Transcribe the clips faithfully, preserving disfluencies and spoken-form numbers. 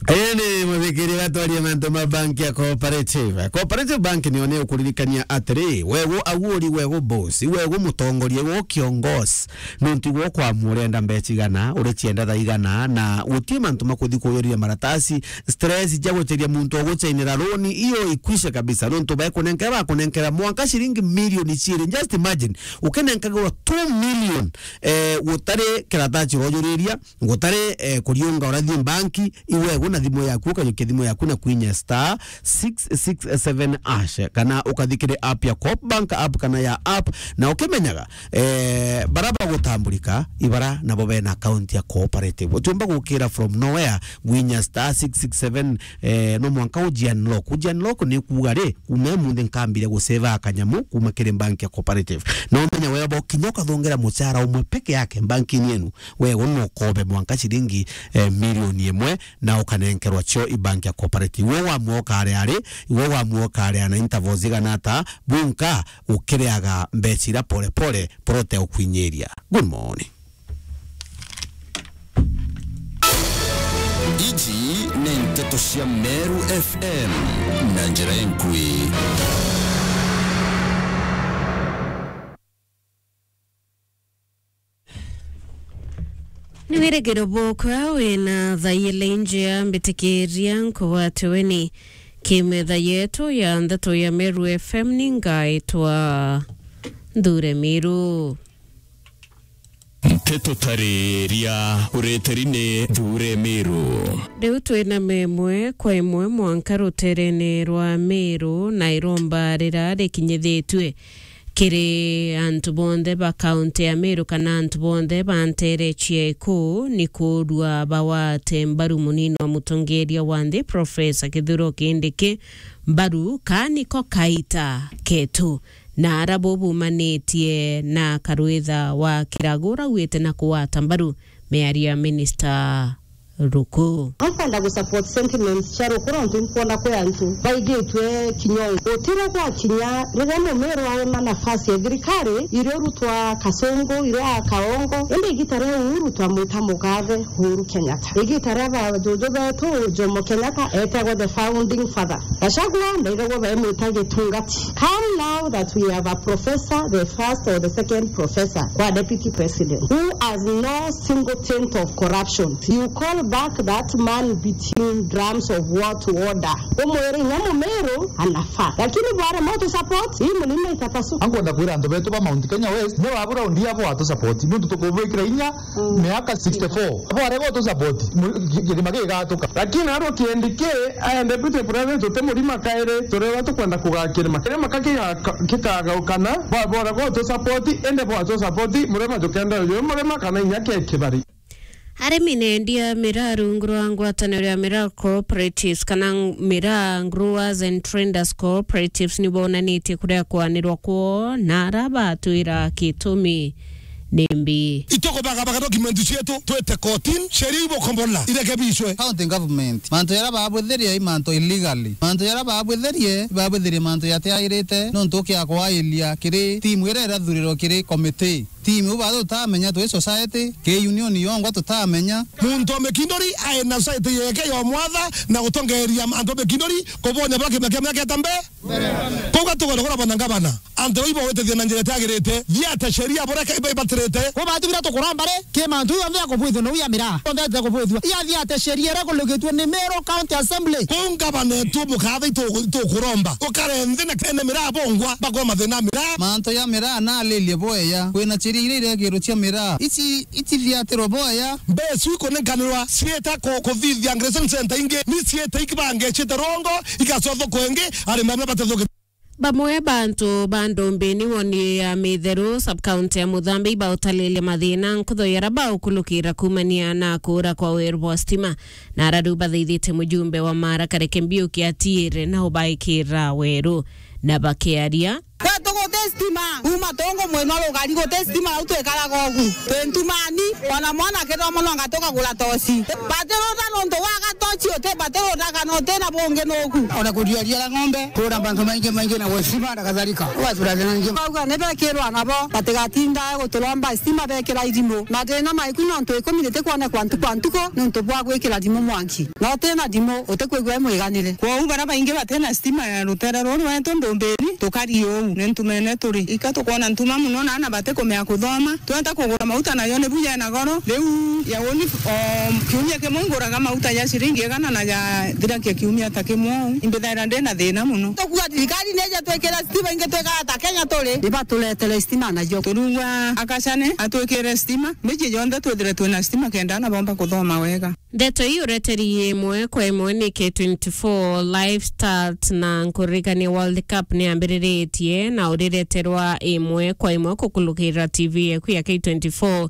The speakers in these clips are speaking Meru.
Aya ni muthikiria batwaria mantu ma bank ya Cooperative. Cooperative Bank niyo ni ukuririkania atiri, wegu aguri, wegu boss, wegu mutongoria, wegu kiongozi. Nontu igwe ukwamua urenda mbeca igana, uricienda thaa igana, na guti mantu ma kuthi kuyuria maratasi, stress cia guceria muntu wa gucainira loan, iyo ikwishe kabisa. Nontu bakunenkera, bakunenkera mwanka ciringi milioni ciiri. Just imagine, ukinenkagirwa two million, eh, gutari karatasi urojuriria, gutari, eh, kuriunga urathii banki, iwe egu na thimu yaku, ukajukia thimu yaku na kwinya star six six seven hash, kana ukathi kiri app ya Coop Bank app kana ya app, na ukimenyaga, eh, bara bagutamburika, ibara nabo bena account ya Cooperative. Utiumba gukira from nowhere, gwinya star six six seven, eh, no mwanka uji unlock. Uji unlock ni kuuga ri, kuuma umunthi nkambire guseva kanyamu kuuma kiri bank ya Cooperative. Na umenya wega bo kinya ukathongera mucara umwe peke yake bankini yenu, wego no ukobe mwanka ciringi, eh, milioni imwe na ukanenkerwa cio i bank ya Cooperative. Iwe wamua ukaria ri, iwe wamua ukaria na intervals igana ata, bunka ukiriaga mbeca ira pole pole, porote ukwinyiria. Good morning. Iji ni nteto cia Meru F M na njira enkui. Ni wirigiro bwokwa wina thairi njia, mbitikiria nkugwate weni. Kimetha yetu ya ndeto ya Meru F M ni ngaitwa Nthure Miru. Nteto tariria ureteri ni Nthure Miru. Riu twina memwe kwa imwe mwanka ruterene rwa Miru na iromba rira rikinyithitue. Kiri antu bonthe ba kaunti ya Meru kana antu bonthe ba ntere cia iku, ni kuurua bawate mbaru munini wa mutongeria wa nthi, Profesa Kithure Kindiki, mbaru, ka niko kaita ketu. Na ara bo bumanitie na karwitha wa Kiragu urauite na kugwata mbaru miario ya minista Ruku. Nkwenda gu support sentiments cia Ruku nontu nkwona kwi antu baigitwe kinyongo. Gutira gwakinya riria Mumiru auna nafasi ya thirikari, irio Ruto a Kasungu, irio a Kaongo, indi igita ria Uhuru twamwita mukathe Uhuru Kenyatta. Igita ria ba juju betu Jomo Kenyatta etegwa the founding father. Gachagua ndaigagwa baimwita gitungati. Come now that we have a professor, the first or the second professor kwa deputy president, who has no single taint of corruption. You call back that man beating drums of war to order. Umwire inya Mumiru anafaa. Lakini bware moto support, hii mlima itapasuka. Ankwenda kwira antu betu ba Mount Kenya West, ni wabura undia abo watu support. Nuntu tukubwikira inya miaka sixty-four. Bware gotu support. Mu-, ki-, kirima gigatuka. Lakini aro kiendi ki, aya deputy president tuti murima kairi, tureba tukwenda kugaa kirima. Kirima ka kiga-, kikagaukana, bwa-, bora gwa tu support, ende bwa tu support, murima tukenda yo murima kana inya ke kibari. Arimi na endia miraa rungu rwa ngwataniro ya Miraa Cooperatives kana ng-, Miraa Growers and Traders Cooperatives ni bonanitie kuria kwanirwa kwoo na ara batwira gitumi ni mbi. Itukubagabaga document cietu, twite kotini, sheria ibukombola, irekebishwe. County government, mantu jaria babwithirie i mantu illegally. Mantu jaria babwithirie, ibabwithirie mantu jatiairite, nontu ukia kwailia kiri timu iria irathurirwe kiri committee. Timu iu bado tutamenya twi society, ki union yongwa tutamenya. Muntu o Mikinduri aina society yeke yomwatha na gutongeria antu a Mikinduri kubonya bwa kima kia miaka eta mbe. Kuu gatugwe kuraba na ngavana. Antu bau ibawitithia na njira itiagirite, thiate sheria buria ke-, iba-, ibatirite. Bo batu bira tukuromba ri, ki mantu yonthe ya kubwithua na uya miraa. Yonthe ya kubwithua. Iya thiate sheria iria kulugitue ni Meru County Assembly. Kuu ngavana etu mukatha itu-, itukuromba. Ukare nthi na kene miraa bongwa, bakwa mathina miraa. Mantu ya miraa nalilie bweya. Kwina sheria iria iregirwe cia miraa. Ici, ici thiatirwe bweya. Mbeca ikunenkanirwa ciita ku-, kuthithia Grace Center ingi, ni ciita ikibangecite rongo, igacothokwa ingi, arimi amwe batethuke. Bamwe bantu ba Ndombi ni woni ya Mitheru, sub-county ya Muthambi, ibautalilia mathina nkutho ya ara baukulukira kumania na kuura kwa weru bwa stima, na ara riu bathaithite mujumbe wa Mara Kareke Mbiuki atiire na ubaikira weru. Na bakiaria, Kwetu guti stima, kuma tungu mwino rugari guti stima, nau twikaraga ugu. Twi ntumani, ona mwana akithoma no anga tukagura toci. Batiruta nontu wa gatoci uti, batiruta kana uti na bungi nuku. Ona kuriaria ng'ombe, kura mantu maingi maingi na gusima na kadhalika. Ugatura thina nyingi. Bauga ni bekirwa nabo, batigatinda guturomba stima bekira irimu. Mathina maiku nontu ikumi ritikwonekwa ntuku kwa ntuku nontu bwa gwikira rimu mwanki. Na uti na ndimu, utikwigua i mwiganire. Kwou baria baingi bati na stima ya rutere ruru rwetu Ndumbiri, tukari uu, ni ntumene turi. Ika tukwona ntuma mono, na aana batikumea kuthoma. Twenda kugura mauta, nayo ni buya ina goro. Riu ya uni, o kiumia kimwe nguraga mauta ja ciringi igana na ja thirakia kiumia ta kimwe uu. Imbithaira ndi na thina mono. Tukuga thirikari nije twikire stima ingi twikara ta Kenya turi. Ibaturetere stima nayo. Turugwa akacane atwikire stima. Miji yonthe twithire twina stima kenda aana bomba kuthoma wega. Ndeto ii ureteri imwe kwa imwe ni K twenty-four Live Start, na nkuririkania World Cup ni yambiriritie na urireterwa imwe kwa imwe kukulukira T V yaku ya K twenty-four,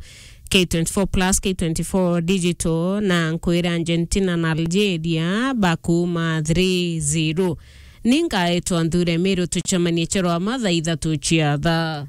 K twenty-four Plus, K twenty-four Digital, na nkwira Argentina na Algeria bakuma three zero. Ni ngaetwa Nthure Miru, tucemanie chero ama thaa ithatu cia thaa.